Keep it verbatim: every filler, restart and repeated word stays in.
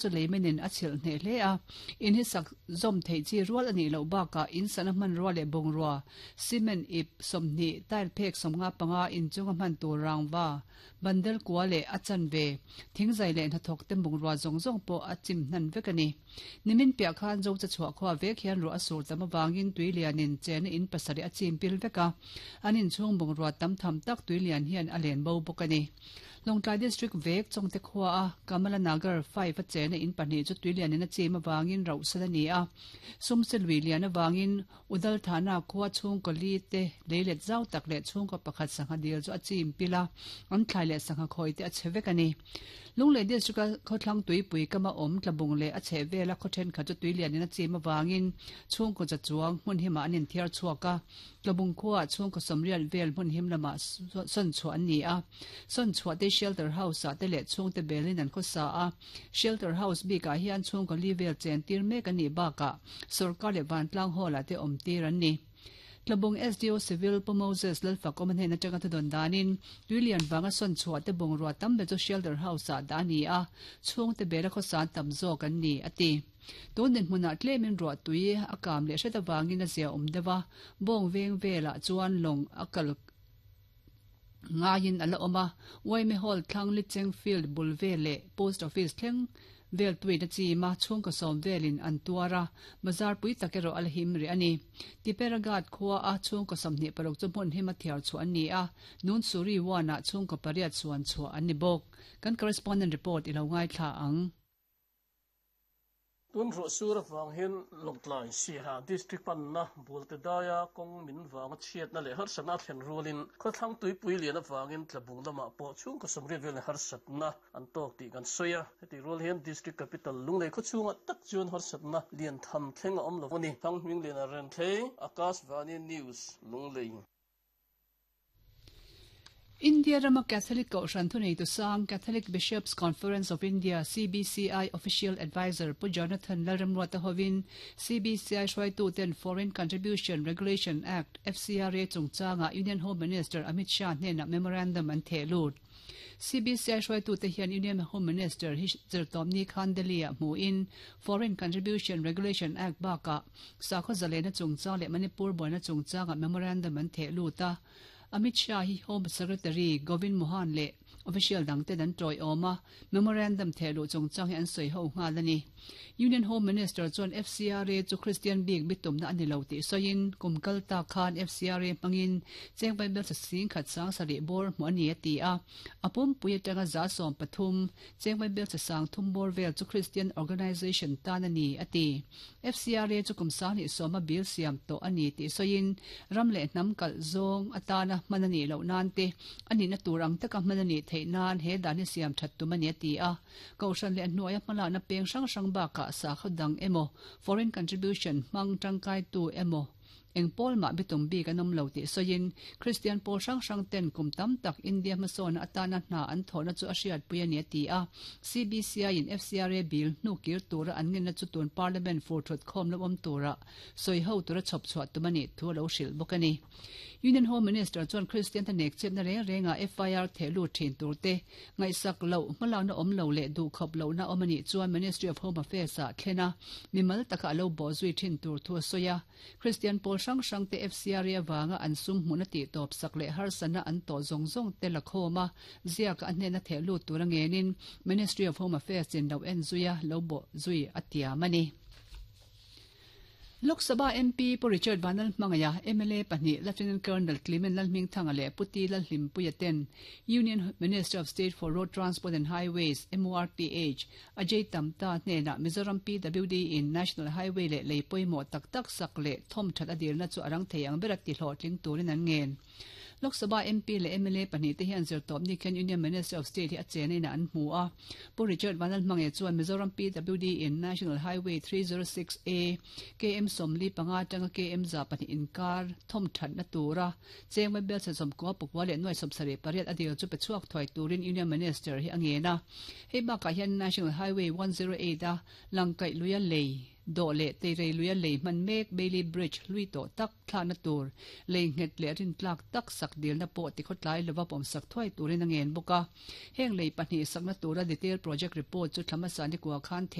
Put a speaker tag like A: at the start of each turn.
A: Chu leimenin a chhilh hneh hle a, in hi sak zawm theih chi rual a nih loh bakah in sana hmanrua leh bungrua, cement ip sawmhnih, tile phek sawmnga panga inchunga hman tur rangva, bandel kua leh a chanve, thingzai leh hnathawk te bungrua zawng zawng pawh a chim hnan vek a ni. Nimin piah khan zo cha chhuah khua vek hian ruah a sur tam avangin tui lianin chena in pasarih a chim pil vek a, an inchhung bungrua tam tham tak tui lian hian a len bo bawk a ni. Lawngtlai District vek Chawngte khua a Kamala Nagar five a chena in pahnih chu tui lianin a chim avangin rauhsan a ni a, sumse lui lian avangin Udal Thana khua chhungkaw li te leilet zau tak leh chhungkaw pakhat sangha dil chu a chim pil a, an thlai leh sangha khawi te a chhe vek a ni. Lunglei District a khawthlang tuipui kama awm tlabung leh a chheh vela khaw thenkhat chu tui lianin a chim avangin chhungkaw za chuang hmun himah an inthiar chhuak a, tlabung khuaah chhungkaw sawmriat vel hmun him lamah sawn chhuah an ni a, sawn chhuah te shelter house ah te leh chhungte belin an khawsa a, shelter house bikah hian chhungkaw li vel chen tir mek an nih bakah sorkar leh vantlang hall ah te awm tir an ni. Tlabung S D O Civil Pu Moses Lalfakawm a hnen atanga thudawn danin tuilian vanga sawn chhuah te bungrua tam ber chu shelter house ah dah a ni a, chhungte bela khawsa tam zawk an ni a ti. Tun dinhmunah tlemin ruah tui a kam leh hret avangin a zia awm deuh a, bawng veng velah chuan lawng a kal ngaiin a la awm a, Uaime Hall thlang Licheng Field bul vel leh Post Office thleng vel tuin a chim a, chhungkaw sawm velin an tuar a, bazar pui tak erawh a la him rih a ni. Tiperagat khua a chhungkaw sawmhnih paruk chu hmun him a thiar chhuah an ni a, Nunsuri one ah chhungkaw pariat suan chhuah an ni bawk. Kan correspondent report i lo ngaithla ang.
B: Tun ruah sur avang hian Lawngtlai Siaha District panna Bualte daia kawng min vanga chhiatna leh harsatna a thlen rualin khawthlang tuipui lian avangin tlabung lamah pawh chhungkaw sawmriat vel leh harsatna an tawk tih kan sawi a. Heti rual hian District Capital Lunglei khawchhungah tak chuan harsatna lian tham thleng a awm lo a ni. Thang hming lian a ren thlei, Akashvani News, Lunglei.
A: India rama Catholic Kohhran thunei tu sang Catholic Bishops Conference of India C B C I Official Advisor Pu Jonathan Lalramruata hovin C B C I hruaitu ten Foreign Contribution Regulation Act F C R A chungchanga Union Home Minister Amit Shah hnena memorandum an theh lut. C B C I hruaitu te hian Union Home Minister hi zirtawmni khan Delhi ah hmuin Foreign Contribution Regulation Act baka sakhaw zalena chungchang leh Manipur buaina chungchanga memorandum an theh lut a. Amit Shah hi Home Secretary Govind Mohan le official dang te dan toi awma memorandum thehlu chungchang hi an sawi ho nghal a ni. Union Home Minister chuan F C R A chu Christian bik bitumna ani lo tih sawiin kumkal ta khan F C R A hmangin chengpai bel sa sing khat sang sarih bawr hmu ani a ti a, a pumpui atanga za sawm pathum chengpai bel sa sang thum bawr vel chu Christian Organization tan ani a ti. F C R A chu kum sang ni sawma bil siam to ani tih sawiin ram leh hnam kalh zawng atana hman ani lo nan te ani na turang taka hman ani theih nan he dan hi siam that tum ani a ti a, kohhran leh hnuaia hmala na peng hrang hrang bakah sakhaw dang emaw foreign contribution hmang tangkai tu emaw eng pawl mah bitum bik an awm lo tih sawiin Christian pawl hrang hrang ten kum tam tak India hmasawn atana hna an thawhna chu a hriat pui ani a ti a. C B C I in F C R A bill hnu kir tura an ngenna chu tun parliament fur thut khawm lo awm tura sawi ho tura chhawp chhuah tum ani thu lo hrilh bawk a ni. Union Home Minister chuan Christian te nek chepna reng renga F I R thehlu thin tur te ngaihsak lo hmalakna awm lo leh duh khawp lohna awm ani chuan Ministry of Home Affairs ah thlena mimal taka lo bo zui thin tur thu a sawi a. Christian pawl hrang hrang te F C R A awanga an sum hmuna tih tawp sak leh harsana an tawh zawng zawng te la khawma ziaka a hnena thehlu tur a ngenin Ministry of Home Affairs in lo en zuia lo bo zui a tiam ani. Lok Sabha M P Pu Richard Vanal Hmangaya M L A pahnih Lieutenant Colonel Clement Lalhming Thanga leh Puti Lalhlimpuia ten Union Minister of State for Road Transport and Highways M O R T H Ajay Tamta hnena Mizoram P W D in National Highway leh leipawimawh tak tak sak leh thawm that a dilna chu arang thei ang ber a ti hlawhtling turin an ngen. Lok Sabha M P leh M L A pahnih te hian zirtawp ni khan Union Minister of State hi a chenaina an hmu a. Pu Richard Vanal Hmangaya chuan Mizoram P W D in National Highway three zero six A K M Somli panga tanga K M za pahnih inkar thawm that na tura chengmai bel sa som ko pukwa leh nuai som sarih pariat a dil chu pe chhuak thuai turin Union Minister hi a ngen a. Hei bakah hian National Highway one zero eight a langkaih luia lei Do le teirei luia lei man mek Bailey Bridge lui to tak thlana tur lei nget le rin tlak tak sak dil na po ti khotlai lova pom sak thoi turin angen boka. Heng lei pahnih sakna tura detail project report chu thlama sani kwa khan.